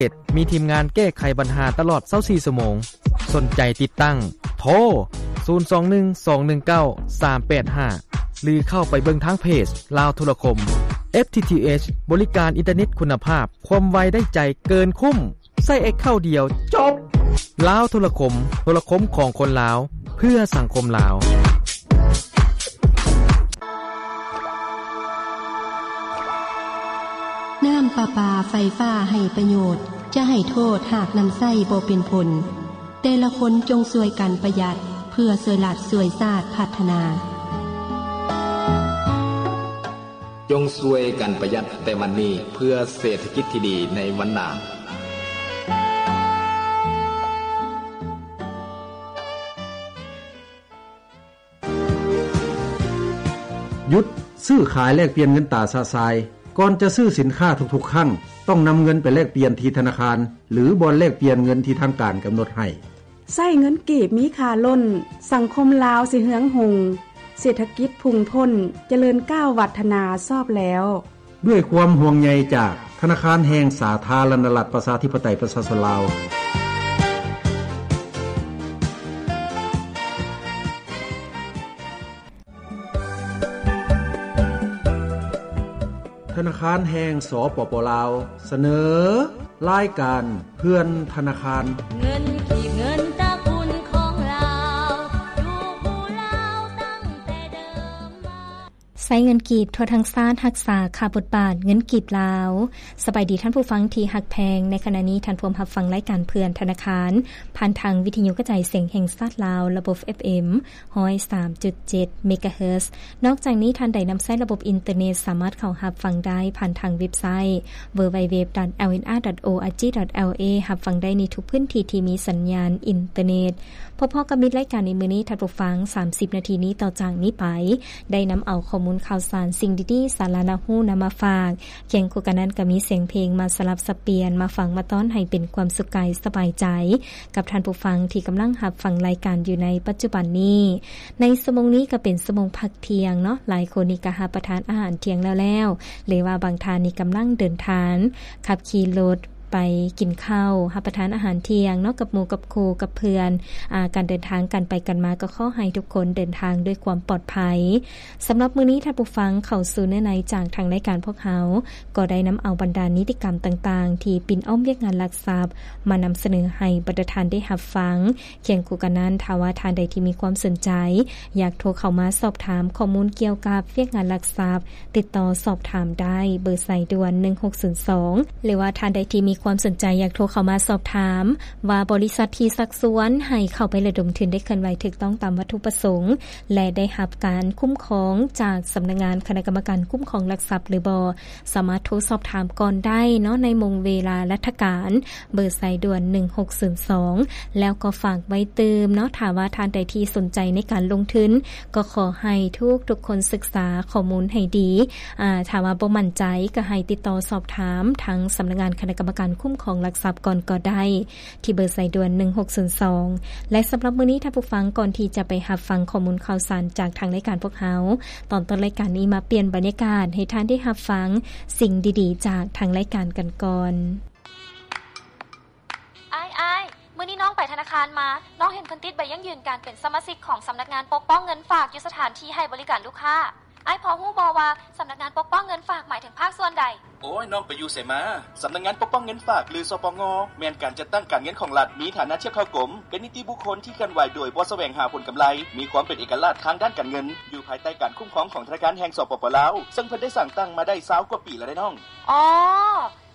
ເຈັດ ມີທີມງານແກ້ໄຂບັນຫາຕະຫຼອດຊາວສີ່ຊົ່ວໂມງ. ສົນໃຈຕິດຕັ້ງ ໂທ ສູນສອງໜຶ່ງ ສອງໜຶ່ງເກົ້າ ສາມແປດຫ້າ ຫຼືເຂົ້າໄປເບິ່ງທາງເພຈລາວໂທລະຄົມ. ເອັຟທີທີເອັຊ ບໍລິການອິນເຕີເນັດຄຸນນະພາບ, ຄວາມໄວໄດ້ໃຈເກີນຄຸ້ມ. ໃຊ້ແອັກເຄົາດຽວ ຈົບ! ລາວໂທລະຄົມ, ໂທລະຄົມຂອງຄົນລາວ, ເພື່ອສັງຄົມລາວ. ນ້ຳປະປາໄຟຟ້າໄຮ້ປະໂຫຍດ, ຈະໃຫ້ໂທດຫາກນຳໃຊ້ບໍ່ເປັນຜົນ. ແຕ່ລະຄົນຈົ່ງຊ່ວຍກັນປະຢັດ ເພື່ອຊ່ວຍລັດຊ່ວຍຊາດພັດທະນາ. ຈົ່ງຊ່ວຍກັນປະຢັດແຕ່ບັດນີ້ ເພື່ອເສດຖະກິດທີ່ດີໃນວັນໜ້າ. ຢຸດຊື້ຂາຍແລກປ່ຽນເງິນຕາຊະຊາຍ. ກ່ອນຈະຊື້ສິນຄ້າທຸກໆຄັ້ງ, ຕ້ອງນຳເງິນໄປແລກປ່ຽນທີ່ທະນາຄານ ຫຼື ບ່ອນແລກປ່ຽນເງິນທີ່ທາງການກຳນົດໃຫ້. ໃຊ້ເງິນກີບມີຄ່າລົ້ນ, ສັງຄົມລາວຊິເຮືອງຮຸ່ງ, ເສດຖະກິດພຸ່ງພົ້ນ, ຈະເລີນກ້າວວັດທະນາຊອບແລ້ວ. ດ້ວຍຄວາມຫ່ວງໃຍຈາກທະນາຄານແຫ່ງສາທາລະນະລັດ ປະຊາທິປະໄຕ ປະຊາຊົນລາວ. ທະນາຄານແຫ່ງ ສປປ ລາວ ສະເໜີລາຍການເພື່ອນທະນາຄານ. ເງິນກີບ ເງິນຕະກຸນຂອງລາວ ຢູ່ຄູ່ລາວຕັ້ງແຕ່ເດີມມາ. ໃຊ້ເງິນກີບທົ່ວທັງຊາດ ຮັກສາຄ່າບົດບາດເງິນກີບລາວ. ສະບາຍດີທ່ານຜູ້ຟັງທີ່ຮັກແພງ, ໃນຂະນະນີ້ທ່ານພວມຮັບຟັງລາຍການເພື່ອນທະນາຄານ ຜ່ານທາງວິທະຍຸກະຈາຍສຽງແຫ່ງຊາດລາວ ລະບົບ ເອັຟເອັມ ຮ້ອຍສາມຈຸດເຈັດ ເມກາເຮີດ. ນອກຈາກນີ້, ທ່ານໃດນຳໃຊ້ລະບົບອິນເຕີເນັດ ສາມາດເຂົ້າຮັບຟັງໄດ້ຜ່ານທາງເວັບໄຊ www.lnr.org.la ຮັບຟັງໄດ້ໃນທຸກພື້ນທີ່ທີ່ມີສັນຍານອິນເຕີເນັດ. ພໍ້ໆກັບມິດລາຍການໃນມື້ນີ້, ທ່ານຜູ້ຟັງ, ສາມສິບນາທີນີ້ຕໍ່ຈາກນີ້ໄປ ໄດ້ນຳເອົາຂໍ້ມູນຂ່າວສານ, ສິ່ງດີໆ, ສາລະໜ້າຮູ້ນຳມາຝາກ. ຄຽງຄູ່ກັນນັ້ນກໍມີສຽງເພງມາສະຫຼັບສັບປ່ຽນ, ມາຟັງມາຕ້ອນໃຫ້ເປັນຄວາມສຸກກາຍສະບາຍໃຈ ກັບທ່ານຜູ້ຟັງທີ່ກຳລັງຮັບຟັງລາຍການຢູ່ໃນປັດຈຸບັນນີ້. ໃນຊົ່ວໂມງນີ້ກໍເປັນຊົ່ວໂມງພັກທ່ຽງເນາະ, ຫຼາຍຄົນນີ້ກໍຮັບປະທານອາຫານທ່ຽງແລ້ວໆ ຫຼືວ່າບາງທ່ານນີ້ກຳລັງເດີນທາງ, ຂັບຂີ່ລົດໄປກິນເຂົ້າ, ຮັບປະທານອາຫານທ່ຽງເນາະ ກັບໝູ່ກັບຄູ່ກັບເພື່ອນ. ອາ, ການເດີນທາງ, ການໄປກັນມາ ກໍຂໍໃຫ້ທຸກຄົນເດີນທາງດ້ວຍຄວາມປອດໄພ. ສຳລັບມື້ນີ້, ທ່ານຜູ້ຟັງ, ເຂົ້າສູ່ເນື້ອໃນຈາກທາງລາຍການພວກເຮົາ ກໍໄດ້ນຳເອົາບັນດານິຕິກຳຕ່າງໆ ທີ່ປິ່ນອ້ອມວຽກງານຫຼັກຊັບ ມານຳສະເໜີໃຫ້ບັນດາທ່ານໄດ້ຮັບຟັງ. ຄຽງຄູ່ກັນນັ້ນ, ຖ້າວ່າທ່ານໃດທີ່ມີຄວາມສົນໃຈ ຢາກໂທເຂົ້າມາສອບຖາມຂໍ້ມູນກ່ຽວກັບວຽກງານຫຼັກຊັບ, ຕິດຕໍ່ສອບຖາມໄດ້ເບີສາຍດ່ວນ ໜຶ່ງຫົກສູນສອງ ຫຼືວ່າທ່ານໃດທີ່ມີຄວາມສົນໃຈ ຢາກໂທເຂົ້າມາສອບຖາມວ່າ ບໍລິສັດທີ່ຊັກຊວນໃຫ້ເຂົ້າໄປລະດົມທຶນໄດ້ເຄື່ອນໄຫວຖືກຕ້ອງຕາມວັດຖຸປະສົງ ແລະ ໄດ້ຮັບການຄຸ້ມຄອງຈາກສຳນັກງານຄະນະກຳມະການຄຸ້ມຄອງຫຼັກຊັບຫຼືບໍ່, ສາມາດໂທສອບຖາມກ່ອນໄດ້ເນາະ ໃນໂມງເວລາລັດຖະການ, ເບີສາຍດ່ວນ ໜຶ່ງຫົກສູນສອງ. ແລ້ວກໍຝາກໄວ້ຕື່ມເນາະ, ຖ້າວ່າທ່ານໃດທີ່ສົນໃຈໃນການລົງທຶນ, ກໍຂໍໃຫ້ທຸກໆຄົນສຶກສາຂໍ້ມູນໃຫ້ດີ. ອາ, ຖ້າວ່າບໍ່ໝັ້ນໃຈ, ກໍໃຫ້ຕິດຕໍ່ສອບຖາມທາງສຳນັກງານຄະນະກຳມະການຄຸ້ມຄອງຫຼັກຊັບກ່ອນກໍໄດ້ ທີ່ເບີສາຍດ່ວນ ໜຶ່ງຫົກສູນສອງ. ແລະ ສຳລັບມື້ນີ້, ທ່ານຜູ້ຟັງ, ກ່ອນທີ່ຈະໄປຮັບຟັງຂໍ້ມູນຂ່າວສານຈາກທາງລາຍການພວກເຮົາ, ຕອນຕົ້ນລາຍການນີ້ມາປ່ຽນບັນຍາກາດໃຫ້ທ່ານໄດ້ຮັບຟັງສິ່ງດີໆຈາກທາງລາຍການກັນກ່ອນ. ອ້າຍ, ອ້າຍ, ມື້ນີ້ນ້ອງໄປທະນາຄານມາ, ນ້ອງເຫັນເພິ່ນຕິດໃບຢັ້ງຢືນການເປັນສະມາຊິກຂອງສຳນັກງານປົກປ້ອງເງິນຝາກຢູ່ສະຖານທີ່ໃຫ້ບໍລິການລູກຄ້າ. ອ້າຍພໍຮູ້ບໍ່ວ່າສຳນັກງານປົກປ້ອງເງິນຝາກໝາຍເຖິງພາກສ່ວນໃດ? ໂອ້ຍ, ນ້ອງໄປຢູ່ໃສມາ? ສຳນັກງານປົກປ້ອງເງິນຝາກ ຫຼື ສປງ ແມ່ນການຈັດຕັ້ງການເງິນຂອງລັດ, ມີຖານະທຽບເທົ່າກົມ, ເປັນນິຕິບຸກຄົນທີ່ເຄື່ອນໄຫວໂດຍບໍ່ສະແຫວງຫາຜົນກຳໄລ, ມີຄວາມເປັນເອກະລາດທາງດ້ານການເງິນ, ຢູ່ພາຍໃຕ້ການຄຸ້ມຄອງຂອງທະນາຄານແຫ່ງ ສປປ ລາວ, ເຊິ່ງເພິ່ນໄດ້ສ້າງຕັ້ງມາໄດ້ຊາວກວ່າປີແລ້ວເດ້ນ້ອງ. ອໍ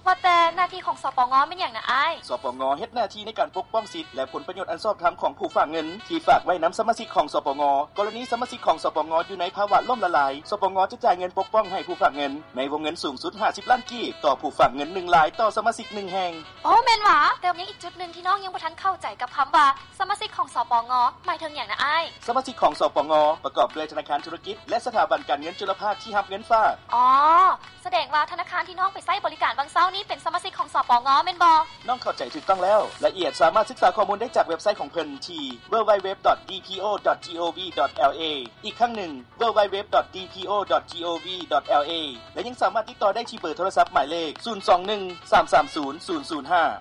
ວ່າແຕ່ໜ້າທີ່ຂອງ ສປງ ແມ່ນຫຍັງນະອ້າຍ? ສປງ ເຮັດໜ້າທີ່ໃນການປົກປ້ອງສິດ ແລະ ຜົນປະໂຫຍດອັນຊອບທຳຂອງຜູ້ຝາກເງິນ ທີ່ຝາກໄວ້ນຳສະມາຊິກຂອງ ສປງ. ກໍລະນີສະມາຊິກຂອງ ສປງ ຢູ່ໃນພາວະລົ້ມລະລາຍ, ສປງ ຈະຈ່າຍເງິນປົກປ້ອງໃຫ້ຜູ້ຝາກເງິນ ໃນວົງເງິນສູງສຸດຫ້າສິບລ້ານກີບ ຕໍ່ຜູ້ຝາກເງິນໜຶ່ງລາຍຕໍ່ສະມາຊິກໜຶ່ງແຫ່ງ. ໂອ້ ແມ່ນຫວາ? ແຕ່ຍັງອີກຈຸດໜຶ່ງທີ່ນ້ອງຍັງບໍ່ທັນເຂົ້າໃຈກັບຄຳວ່າ ສະມາຊິກຂອງ ສປງ ໝາຍເຖິງຫຍັງນະອ້າຍ? ສະມາຊິກຂອງ ສປງ ປະກອບດ້ວຍທະນາຄານທຸລະກິດ ແລະ ສະຖາບັນການເງິນຈຸລະພາກທີ່ຮັບເງິນຝາກ. ອໍ ສະແດງວ່າທະນາຄານທີ່ນ້ອງໄປໃຊ້ບໍລິການຫວ່າງເຊົ້າ ນີ້ເປັນສະມາຊິກຂອງ ສປງ ແມ່ນບໍ່? ນ້ອງເຂົ້າໃຈຖືກຕ້ອງແລ້ວ. ລາຍລະອຽດສາມາດສຶກສາຂໍ້ມູນໄດ້ຈາກເວັບໄຊຂອງເພິ່ນທີ່ www.dpo.gov.la ອີກຄັ້ງໜຶ່ງ www.dpo.gov.la ແລະ ຍັງສາມາດຕິດຕໍ່ໄດ້ທີ່ເບີໂທລະສັບໝາຍເລກ ສູນສອງໜຶ່ງ ສາມສາມສູນ ສູນສູນຫ້າ.